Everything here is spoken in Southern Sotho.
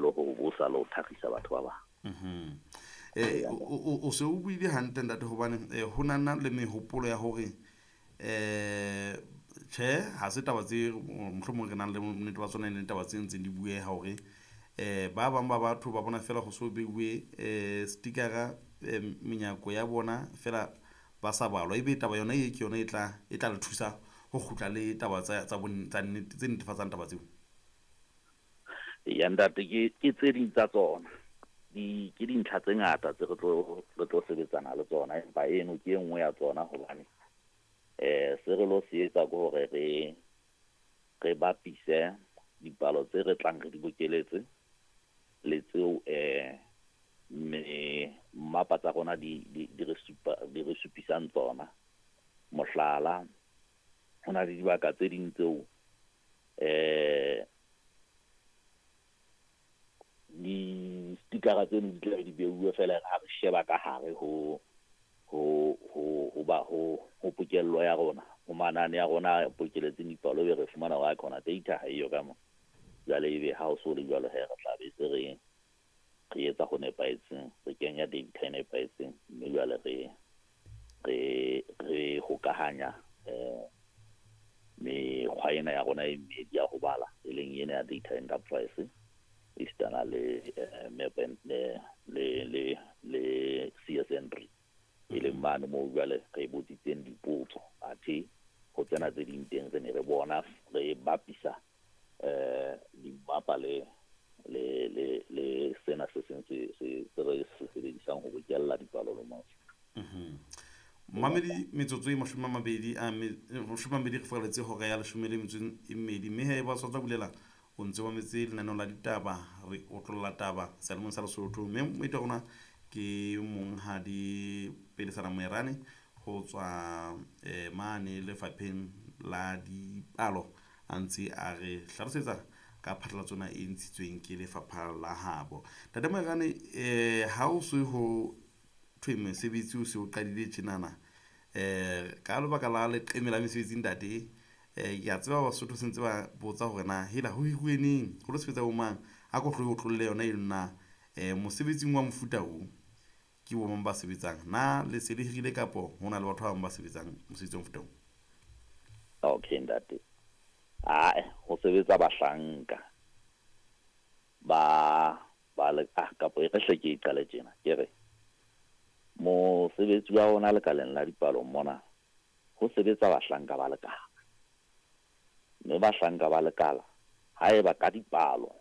le ho bosa le ho thakgisa batho ba bang. O se o buile hantle, ntate, hobane ho nana le mehopolo ya hore tjhe, ha se taba tse mohlomong re nang le bonnete ba tsona, e leng taba tse ntseng di bueha hore ba bang ba batho ba bona fela ho so beuwe stickera menyako ya bona fela ba sa balwa, ebe taba yona e ke yona e tla le thusa ho kgutla le taba tsa nnete tse netefatsang taba tseo. Ya, ntate, ke tse ding tsa tsona. Ke dintlha tse ngata tse re tlo sebetsana le tsona, empa eno ke e nngwe ya tsona, hobane se re lo se etsa ke hore re bapise dipalo tse re tlang re di bokeletse le tseo me mmapa tsa rona di re supisang tsona. Mohlala, ho na le dibaka tse ding tseo di-stickera tseno di tlabe di beuwe fela, ha re sheba ka hare ho pokello ya rona, ho manane ya rona a pokeletseng dipalo, ebe re fumana hore khona data ha eyo ka mo. Jwale ebe ha o so le jwalo he, re tla be se re etsa ho nepahetseng, re kenya data e nepahetseng, mme jwale re hokahanya mekgwa ena ya rona e mmedi ya ho bala, e leng ena ya data enterprise esitana le map and le CSN3, e leng mane moo jwale re botsitseng dipotso, athe ho tsena tse ding teng re ne re bona re bapisa dimmapa le sena se seng se re se sebedisang ho bokella dipalo le mose. Mamedi, metsotso e 20 re furaletse hora ya 12, mme he ba sa bulela o ntse wa metse lenaneo la ditaba, re otlolla taba selemong sa Lesotho, mme moeti wa rona ke monghadi Pelesana Moerane ho tswa mane lefapheng la dipalo, a ntse a re hlalosetsa ka phatlalatso ena e ntshitsweng ke lefapha la habo. Ntate Moerane, ha o se ho thwe mosebetsi o se o qadile tjenana ka lebaka la leqeme la mesebetsi, ntate, ke a tseba Basotho se ntse ba botsa hore na hela ho hiruwe neng, ho lo sebetsa bo mang, a ko tlo otlolle yona eno na, mosebetsing wa mofuta o ke bo mang ba sebetsang, na le se le hirile kapo ho na le batho ba bang ba sebetsang mosebetsi wa mofuta o? Okay, ntate, ae, ho sebetsa bahlanka ba le kapo e re hle ke e qale tjena, ke re mosebetsi wa rona lekaleng la dipalo mona ho sebetsa bahlanka ba lekala, mme bahlanka ba lekala haeba ka dipalo